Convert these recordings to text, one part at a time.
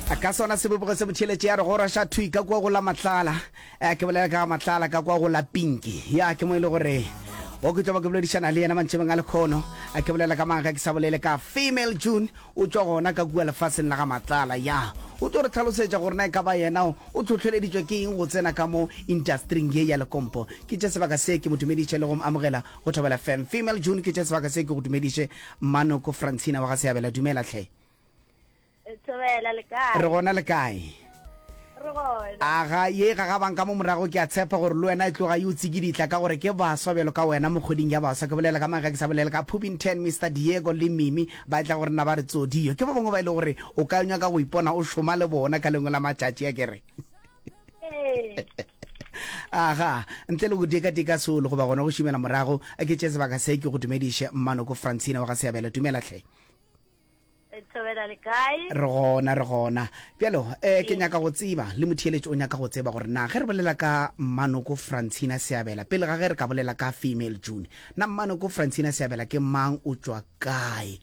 Ka sona sebopego se motheeletše ya re goroša thwi ka kua go la Matlala. Eh, ke bolela ka ga Matlala ka kua go la Pinki. Ya, ke mo e le gore o ke tlo ba ke boledišana le yena mantšebeng a lekhono. A ke bolela ka mang ge ke sa bolele ka Female June, o tšwa gona ka kua lefaseng la ga Matlala. Ya, o tlo re hlalosetša gore na e ka ba yena o hlohleleditšwe ke eng go tsena ka mo industering ye ya lekompo. Ke tše sebaka se ke mo dumediše le go mo amogela go Thobela FM. Female June, ke tše sebaka se ke go dumediše Mmanoko Francina wa ga Seabela. Dumela hle. Thobela le kae? Re gona le kae? Re gona. Aga ye ga ga bang ka mo morago ke a tshepa gore le wena e tloga e o tsikiditla ka gore ke baswa bjalo ka wena mo kgweding ya baswa. Ke bolela ka mang ge ke sa bolele ka Phubington, Mister Diego le Mimi ba tla go rena ba re tsodio. Ke ba bangwe ba e le gore o ka nyaka go ipona o šoma le bona ka lengwe la matšatši a ke re. Ee. Aga, ntle le go dika-dika solo goba gona go šimela morago, ke tše sebaka se ke go dumediše Mmanoko Francina wa ga Seabela. Dumela hle. Thobela le kae? Re gona, re gona. Bjalo, eh, ke nyaka go tseba, le motheeletši o nyaka go tseba gore na ge re bolela ka Mmanoko Francina Seabela, pele ga ge re ka bolela ka Female June, na Mmanoko Francina Seabela ke mang, o tšwa kae?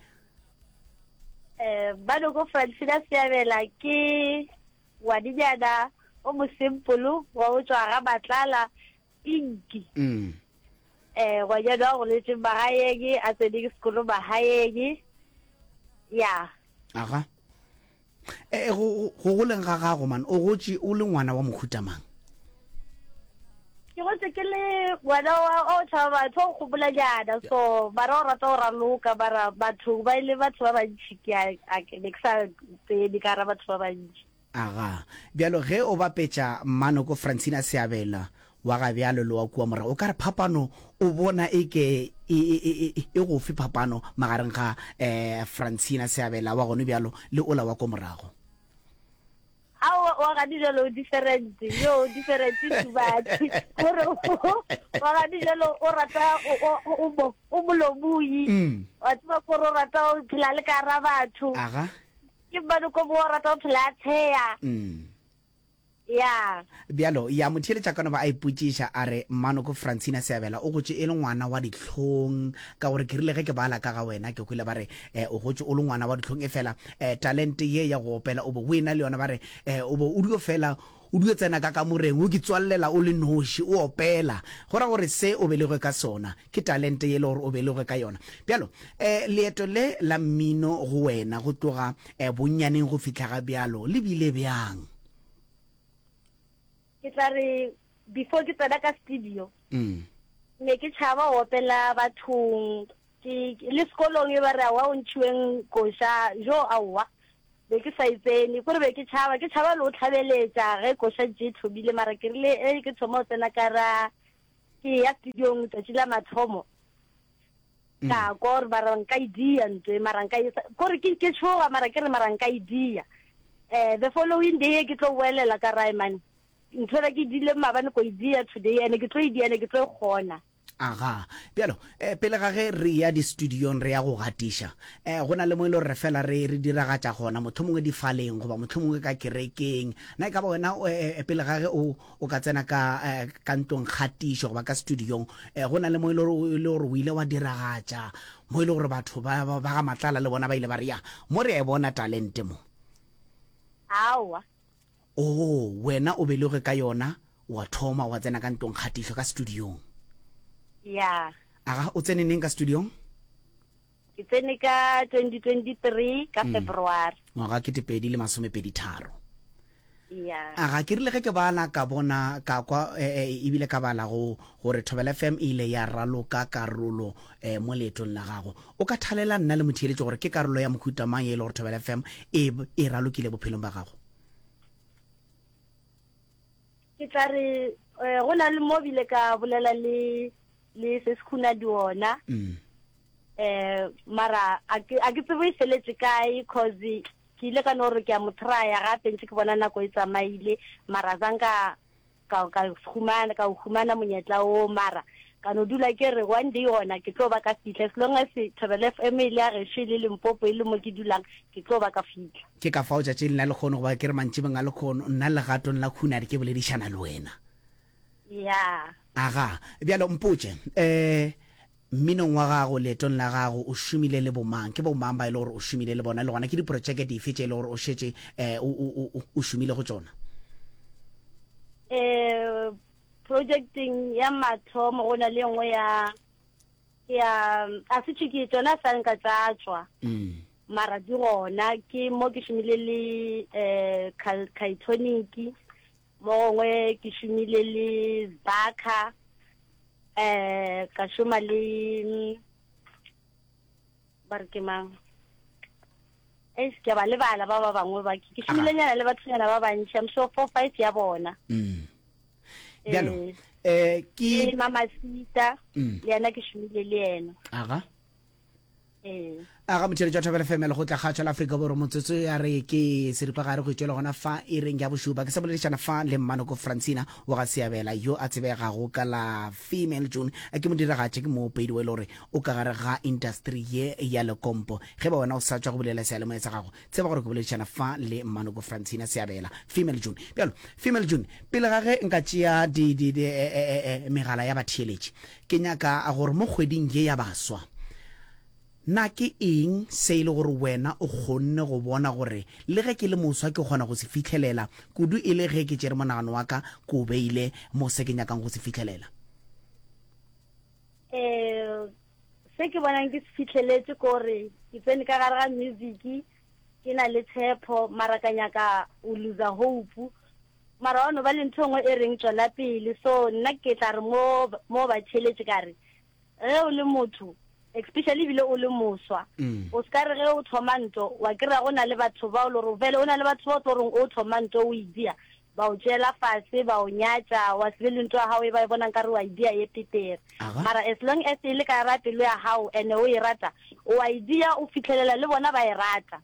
Eh, Mmanoko Francina Seabela ke ngwanenyana o mosempolo wa go tšwa ga Matlala, Pinki. Mm. Eh, ngwanyana wa goletše magaeng, a tsene ke sekolo magaeng. Ya. Aga. Eh, go go goleng ga gago man, o gotše o le ngwana wa mohuta mang? Ke gotše ke le ngwana wa o tšhaba batho, o gopolanyana, so mara o rata go raloka, mara batho ba ile batho ba bantši ke a ne ke sa tsene ka gara batho ba bantši. Aga. Bjalo ge o bapetša Mmanoko Francina Seabela wa ga bjalo le wa kua morago, o ka re phapano o bona e ke e, e, e, e, e gofe phapano magareng ga eh, Francina Seabela wa gone bjalo le ola wa ko morago? Aowa, wa gane bjalo o different, yo o different too much. Gore wa gane bjalo o rata o, o, o, o, o molomoi. Mm. Wa tseba kore o rata o phela le ka gara batho. Aga. Ke mmane ko bo rata go phela a tsheya. Mm. Ya. Bjalo, ya motheeletša ka no ba a ipotšiša a re, Mmanoko Francina Seabela o gotše e le ngwana wa dihlong, ka gore ke rile ge ke bala ka ga wena ke kwele ba re eh, o gotše o le ngwana wa dihlong, efela eh, talente ye ya go opela o be o ena le yona, ba re eh, o be o dio fela o dio tsena ka kamoreng o ke tswallela o le noši o opela, go ra gore se o belegwe ka sona Ke talente ye e le gore o belegwe ka yona. Bjalo, eh, leeto le la mmino go wena go tloga eh, bonnyaneng go fihla ga bjalo le bile bjang? Ke tla re before ke tsena ka studio, Mm. ne ke tšhaba go opela bathong, ke le sekolong e ba re aowa o ntšhiweng koša, jo aowa be ke sa e tsene, kore be ke tšhaba, ke tšhaba le go tlhabeletša ge koša ntše e thomile, mara ke rile e ke thoma go tsena ka ra Ke ya studiong tšatši la mathomo mm. ka kwa gore mara nka e dia ntwe mara nka e kore ke ke tshoga mara ke re mara nka e dia eh the following day ke tlo boelela ka rae man ntho ela ke dile maabane ko e dia today ene ke tlo e dia ene ke tlo e kgona Aga. Bjalo, eh, pele ga ge re ya di-studiong re ya go gatiša, eh, go na le mo e le gore re fela re, re diragatša gona, mohlomongwe difaleng goba mohlomongwe ka kerekeng. Na e ka ba wena, eh, eh, pele ga ge o, O ka tsena ka, ka ntlong kgatišo goba ka studiong, go na le mo e le gore, e le gore o ile wa diragatša, mo e le gore batho ba, ba, ba ga Matlala le bona ba ile ba re, ya, mo re a e bona talente mo. Aowa. Oo, wena o belegwe ka yona, wa thoma wa tsena ka ntlong kgatišo, ka studiong. Ya. Aga, o tsene neng ka studiong? Ke tsene ka 2023 ka February. Ngwaga 2023. Ya. Aga, ke rile ge ke bala ka bona ka kwa ebile ka bala go gore Thobela FM e ile ya raloka karolo eh, mo leetong la gago. O ka thalela nna le motheeletši gore ke karolo ya mohuta mang ye e le gore Thobela FM e e ralokile bophelong ba gago? Ke tla re eh, go na le mo bile ka bolela le le se se khuna diona. Mm. Eh mara a ke a ke tsebe e feletše kae cause ke ile ka no re ke a mo trya gape ntse ke bona nako e tsamaile mara zanka ka ka humana ka humana monyetla o mara ka no dula ke re one day gona ke tlo ba ka fihla as long as Thobela FM e le ya gešo e le Limpopo e le mo ke dulang ke tlo ba ka fihla. Ke ka fao tšatšing la lekgono goba ke re mantšibeng a lekgono nna legatong la Khunadi ke boledišana le wena. Ya. Aga, bjalo mpotše, eh. Mminong wa gago, leetong la gago, o šomile le bomang? Ke bomang ba e le gore o šomile le bona, le gona ke diprotšeke dife tše e le gore o šetše um o, o, o, o šomile go tšona? Um projecteng ya mathomo go na le e nngwe ya ya a se tšwe ke tšona sa nka tša tšwa mm. mara di gona ke mo ke šomile le um Kaitonic Mo gongwe ke šomile le Zbaka, um ka šoma le ba re ke mang eish ke a ba lebala ba ba bangwe ba ke šomilenyana le bathonyana ba bantši I'm sure 4 5 ya bona mm. bjalo eh ke le Mamasita mm. le yena ke šomile le yena aga Ee. A ga motheeletši wa Thobela FM lekgotla kgatšo la Afrika Borwa motsotso ya re ke seripagare go itšwela gona fa iring ya bošupa ke sa boledišana fa le Mmanoko Francina wa ga Seabela yo a tsebegago ka la Female June ke modiragatši ke moopedi wa e le gore o ka gare ga industry ye ya lekompo ge ba wena o sa tšwa go bulela seyalemoya sa gago tseba gore ke boledišana fa le Mmanoko Francina Seabela Female June bjalo Female June pele ga ge nka tšea di, di, di, e, e, e, megala ya batheeletši Ke nyaka gore mo kgweding ye ya baswa, na ke eng se e le gore wena o kgonne go bona gore le ge ke le moswa ke kgona go se fihlelela, kudu e le ge ke tšere monagano wa ka ke o beile mo se ke nyakang go se fihlelela? Um se ke bonang ke se fihleletše ke gore ke tsene ka gare ga music ke na le tshepo mara ka nyaka o loser hope Mara wa no ba le ntho e nngwe e reng tšwela pele. So nna ke tla re mo mo ba theeletše ka re ge o le motho especially ebile o le moswa o se ka re ge o thoma nto wa kry-a go na le batho ba o le gore vele o na le batho ba o tlo reng o thoma nto o e dia ba o tšeela fase ba o nyatša wa se be le nto ya gago e ba e bonang ka re wa e dia ye petere mara as long as e le ka ra pelo ya gago ene o e rata o a e dia o fitlhelela le bona ba e rata.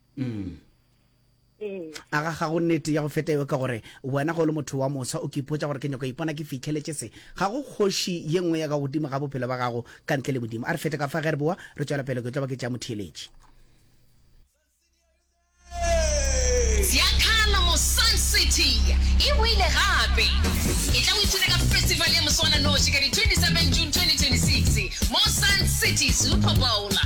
Ee. A ga ga go nnete ya go feta eo ka gore wena ge o le motho wa moswa o ke ipotša gore ke nyaka go ipona ke fihleletše se. Ga go kgoši ye nngwe ya ka godimo ga bophelo ba gago ka ntle le Modimo. A re fete ka fa ge re boa re tšwela pele ke tlo ba ke tšea motheeletši. Ziyakhala mo Sun City e boile gape.